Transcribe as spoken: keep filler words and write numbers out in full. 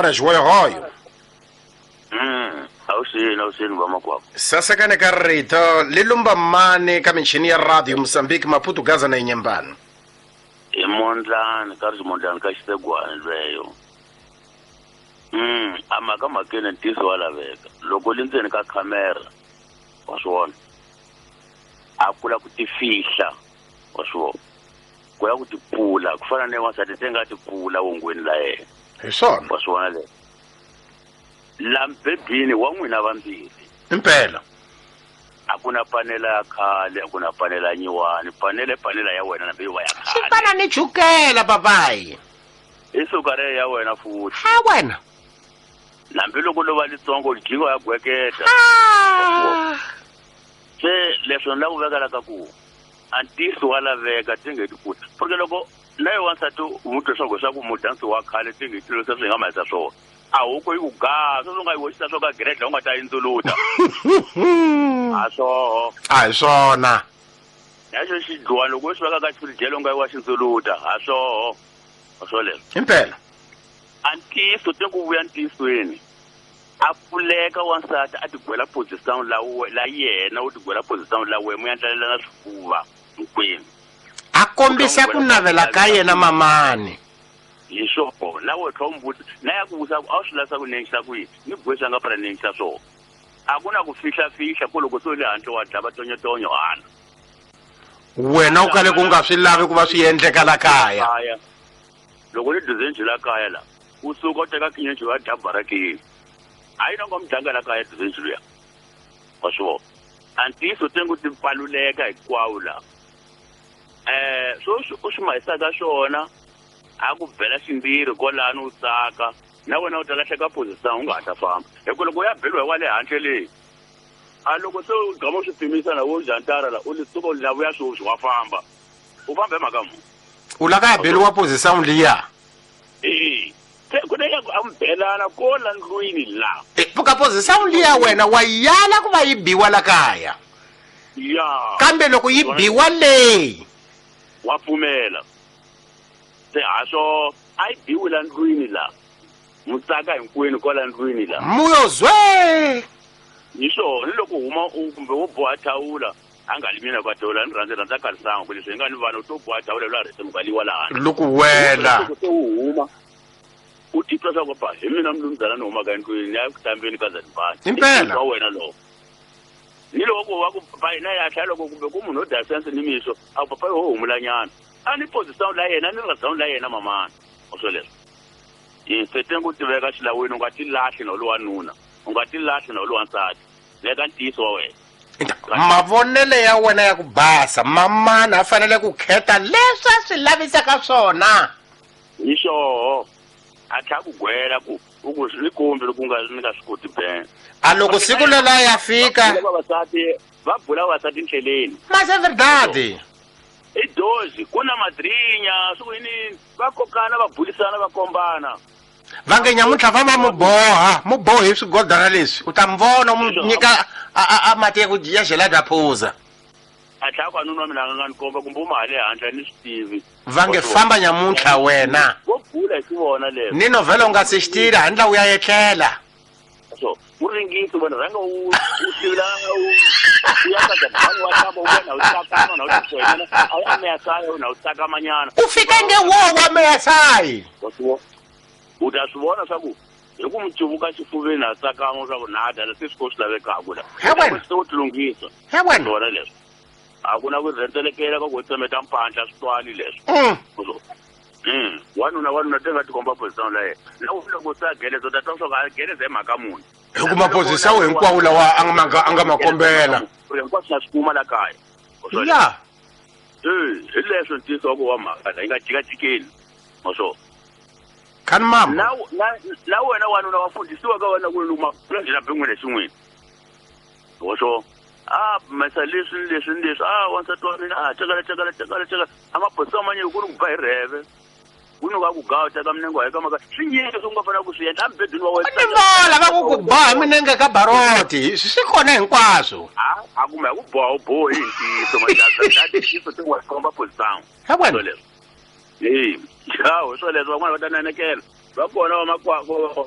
Xihoyohoyo. Mm, awusini awusini vamakwavo. Sasekane ka rito li lumba mani ka michini ya radio Mozambique Maputo Gaza na Inhambane. I mondlani ka ri mondlani ka xisegwani lweyo. Mm, a mhaka mhakeni ntiyiso wa laveka. Loko li ndzeni ka khamera wa swi vona. A kula ku tifihla wa swi vona. Ku ya ku tipfula ku fana na wansati se nga tipfula wongweni la yena. Hi swona. Wa swi vona leswo. La mbebhini wa n'wina vambirhi. Impela. A ku na panela ya khale, a ku na panela ya nyiwani, panele panela ya wena nambe yi va ya Swi khale. fana ni chukela papayi. I suka re ya wena futhi. Ha wena. Nambi loko lo va litsongo jingo ya gweketa. Ah. Se leswo ni lava ku vekela ka ku a ntiyiso wa laveka tinge ti pfuta. Porque loko na yo wansati u n'wi twa swa ku swa ku mudansi wa khale tinge ti leswi swi nga mahisa swona. A huku yi ku gaa, sweswi u nga yi hoxisa swo ka giredi u nga ta yindzuluta. A swoho. A hi swona. Na xo xidluwani loko u xi veka ka xifirijelo u nga yi wa xindzuluta, a swoho. A swo leswo. Impela. A ntiyiso te ku vuya ntiyisweni. A pfuleka wansati a tigwela position la we la yena u tigwela position la we mu endlalelana swifuva hinkwenu. A kombisa ku navela ka yena mamani. Hi swona na we tlhela u n'wi vutisa na ya ku vutisa ku a wu swi lavisa ku nengisa ku yini ni bohisa nga phela nengisa swona. A ku na ku fihlafihla ku loko se u le handle wa dlava tonyotonyo hana. Wena u kale ku nga swi lavi ku va swi endleka la kaya. Kaya. Loko ni dizenji la kaya la u suka u teka kinyenji wa dya barakeni. A yi na nga mudlanga la kaya dizenji luya. Wa swi vona. A ntiyiso te ngo ti pfaluleka hinkwawo la. Eh swo u swi mahisaka swona a ku bela ximbirhi kwalano u tsaka na wena u ta lahleka position u nga ha ta famba. Hi ku loko u ya beliwa hi wa le handle leyi a loko se u gama u swi pimisa na wo jantara la u li suka u la vuya sweswi wa famba. U famba hi mhaka muni? U la ka ya beliwa position liya. Eh, se ku na ya ku ambelana ko la ndlwini la. Eh, puka position liya wena wa yala ku va yi biwa la kaya. Ya. Kambe loko yi biwa leyi wa pfumela. Se ha swo a yi biwi la ndlwini la. Mutsaka hinkwenu kwala ndlwini la. Muyo zwe. Ni swona ni loko huma u kumbe wo boha thawula a nga li mina ka thawula ni rhandza rhandza karisanga ku leswi hi nga ni vanhu to boha thawula la rhese mukaliwa la handle. Loko wela. Loko se u huma u titwa swa ku pa hi mina mlumzana ni humaka endlwini ya ku hlambeni ka Zanzibar. Impela. Wa wena lowo. Ni loko wa ku pa na ya tlhela loko kumbe ku munhu o dya sense ni mixo a ku papa yo humulanyana. A ni position la yena ni rhandza la yena mamana. O swo leswo. Hi se ku tiveka xilawini u nga ti lahli na lowa nuna. U nga ti lahli na lowa nsati. Veka ntiyiso wa wena. Mavonele ya wena ya ku basa mamana a fanele ku kheta leswi a swi lavisaka swona. Hi xoho. A tlhela ku gwela ku u ku swi kombi loko u nga ni nga swi koti ben. A loko siku lela ya fika vavasati va bula vavasati ndleleni. Mas é verdade. I dozi ku na madrinya swi ku yini va kokana va bulisana va kombana. Va nge nyamuntlha va va mu boha mu bohi swigodana leswi u ta mi vona mu nyika a a mati ya ku ya gelada phuza. A tlhela ku nuna wa mina a nga ni komba kumbe u ma le handle ni swi tivi. Va nge famba nyamuntlha wena. Vo bula hi xivona leswo. Ni novhela u nga se xi tira handle u ya etlela. So u ringisi wena rhanga u u tivula u ya ka Zanzibar wa hlamba u vona u tsakama na u tifoyinela a wu ya meyasayi na u tsakamanyana. U fika nge wo wa meyasayi. U ta swi vona swa ku hi ku mi cuvuka xifuveni a tsakama swa ku na dya leswi swi ko swi lavekaka la. He wena. Se u tilunghisa. He wena. Swona leswo. A ku na ku rhendzelekela ka ku tsemeta mpandla swi twali leswo. Mm. Wanuna wanuna te nga tikomba position la yena. Loko loko se a geleza u ta twa swa ku a geleza hi mhaka muni. Hi ku maposition hinkwawo lawa a nga a nga ma kombela. Hinkwaswo na swi kuma la kaya. Ya. Eh, hi leswo ntiyiso wa ku wa mhaka la yi nga jikajikeni. Ma swo. Kan mama. Na na na wena wanuna wa fundisiwa ka wena ku luma la bin'wini xin'wini. Wa swo. Ah, masa leswi leswi leswi ah wansati wa mina ah cakala cakala cakala cakala a maphorisa manye ku ri ku ba hi rheve. Ku ni ka ku gawa teka minenge wa ka maka swi nyingi swi nga fanele ku swi endla embedweni wa wena. Ni vola va ku ku ba hi minenge ka baroti swi kona hinkwaswo. A a kumbe ku boha u bohi hi ntiyiso majaza ntiyiso te wa komba position. He wena. Eh, hawu swoleswo van'wana va ta nanekela. Va kona vamakwavo